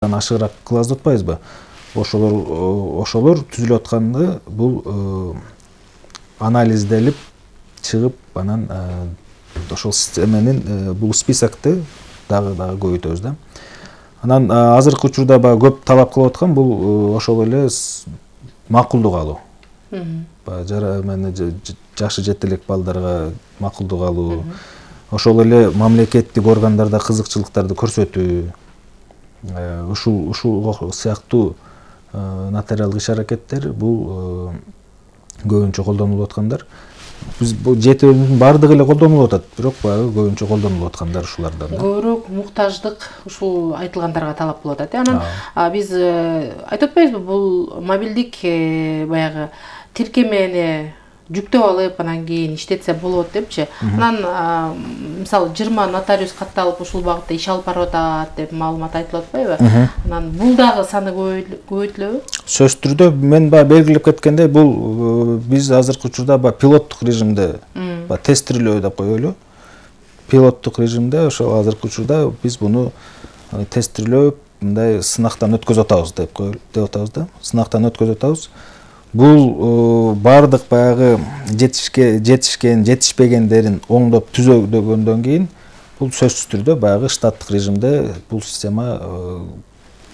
ашыгыраак кылабыз деп атпайбызбы? Ошолор түзүлүп атканды бул анализделип чыгып, анан ошол системенин бул списокты дагы көбөйтөбүз да. Анан азыркы учурда көп талап кылып аткан бул ошол эле макулдук алуу. Жашы жете элек балдарга макулдук алуу, ошол эле мамлекеттик органдарда кызыкчылыктарды көрсөтүү, ушул сыяктуу нотариалдык иш-аракеттер бул көбүнчө колдонулуп аткандар. Биз бул жетебиздин бардыгы эле колдонулуп атат, бирок баягы көбүнчө колдонулуп аткандар ушулардан. Көбүрөөк муктаждык ушул айтылгандарга талап болуп атат. Анан биз айтып атпайбызбы, бул мобилдик баягы тиркемени жүктөп алып, анан кийин иштетсе болот депчи. Анан мисалы 20 нотариус катталып ушул багытта иш алып барып атат деп маалымат айтылып атпайбы? Анан бул дагы саны көбөйтүлөбү? Сөзсүз түрдө мен белгилеп кеткендей, бул биз азыркы учурда пилоттук режимде тестирлөө деп коелу. Пилоттук режимде ошол азыркы учурда биз буну тестирлөө, мындай сынактан өткөзүп атабыз деп атабыз да. Сынактан өткөзүп атабыз. Бул бардык баягы жетишкен, жетишпегендерин оңдоп түзөгөндөн кийин бул сөзсүз түрдө баягы штаттык режимде бул система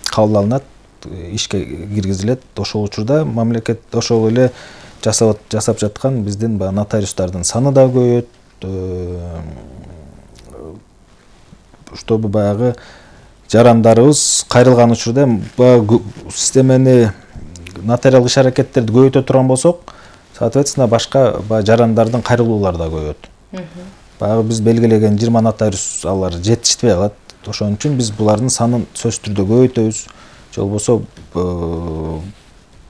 кабыл алынат, ишке киргизилет. Ошол учурда мамлекет ошол эле жасап жаткан биздин нотариустардын саны да көбөйөт. Чтобы баягы жарандарыбыз кайрылган учурда системени нотариалдык иш-аракеттерди көбөйтө турган болсок, соответственно башка жарандардын кайрылуулары да көбөйөт. Баягы биз белгилеген 20 нотариус алар жетиштебей калат. Ошон үчүн биз булардын санын сөзсүз түрдө көбөйтөбүз. Же болбосо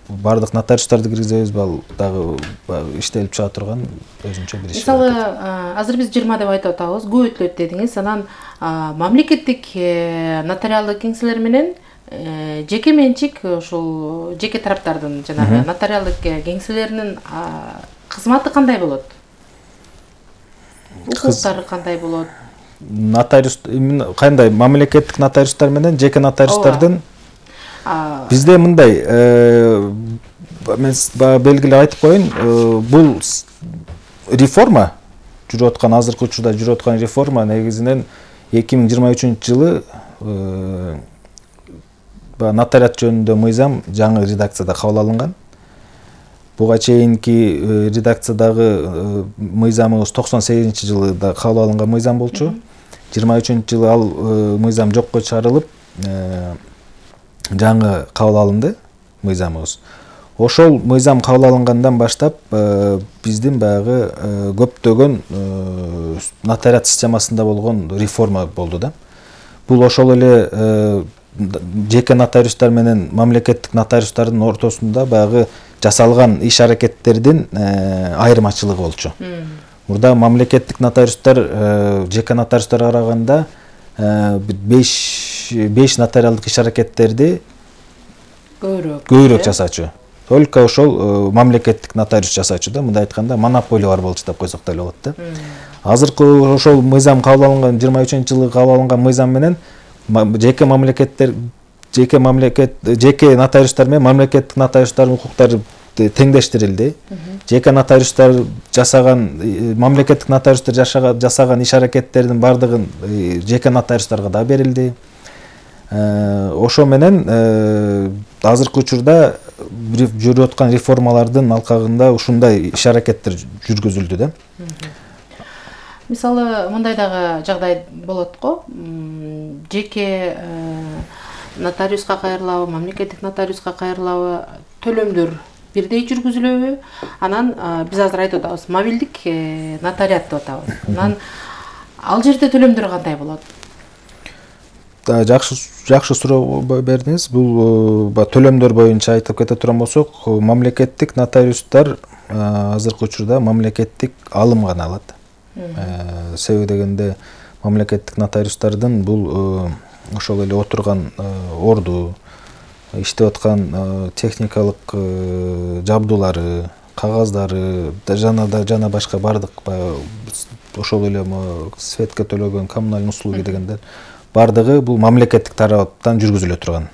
бардык нотариустарды киргизебиз, дагы иштелип чыга турган өзүнчө бир иш. Мисалы, азыр биз 20 деп айтып атабыз, көбөйтүлөт дедиңиз. Анан мамлекеттик нотариалдык кеңселер менен жеке менчик ушул жеке тараптардын жанагы нотариалдык кеңселеринин кызматы кандай болот? Укуктары кандай болот? Нотариус кандай мамлекеттик нотариустар менен жеке нотариустардын бизде мындай мен белгилеп айтып коеюн, бул реформа жүрүп аткан, азыркы учурда жүрүп аткан реформа негизинен 2023-жылы нотариат жөнүндө мыйзам жаңы редакцияда кабыл алынган. Буга чейинки редакциядагы мыйзамыбыз 98-жылы да кабыл алынган мыйзам болчу. 23-жылы ал мыйзам жокко чыгарылып, жаңы кабыл алынды мыйзамыбыз. Ошол мыйзам кабыл алынгандан баштап биздин баягы көптөгөн нотариат системасында болгон реформа болду да. Бул ошол эле жеке нотариустар менен мамлекеттик нотариустардын ортосунда баягы жасалган иш-аракеттердин айырмачылыгы болчу. Мурда мамлекеттик нотариустар жеке нотариустарга караганда 5 нотариалдык иш-аракеттерди көбүрөөк жасачу. Только ошол мамлекеттик нотариус жасачу да, мындай айтканда монополия бар болчу деп койсок деле болот да. Азыркы ошол мыйзам кабыл алынган 23-жылы кабыл алынган мыйзам менен жеке нотариустар менен мамлекеттик нотариустардын укуктары теңдештирилди. Жеке нотариустар мамлекеттик нотариустар жасаган иш-аракеттердин бардыгын жеке нотариустарга да берилди. Ошо менен азыркы учурда жүрүп аткан реформалардын алкагында ушундай иш-аракеттер жүргүзүлдү да. Мисалы, мындай дагы жагдай болот го. Жеке нотариуска кайрылабы, мамлекеттик нотариуска кайрылабы, төлөмдөр бирдей жүргүзүлөбү? Анан биз азыр айтып атабыз, мобилдик нотариат деп атабыз. Анан ал жерде төлөмдөр кандай болот? Жакшы суроо бердиңиз. Бул төлөмдөр боюнча айтып кете турган болсок, мамлекеттик нотариустар азыркы учурда мамлекеттик алым гана алат. Себеби дегенде мамлекеттик нотариустардын бул ошол эле отурган орду, иштеп аткан техникалык жабдуулары, кагаздары, жана башка бардык ошол эле светке төлөгөн коммунальный услуги дегендер бардыгы бул мамлекеттик тараптан жүргүзүлө турган.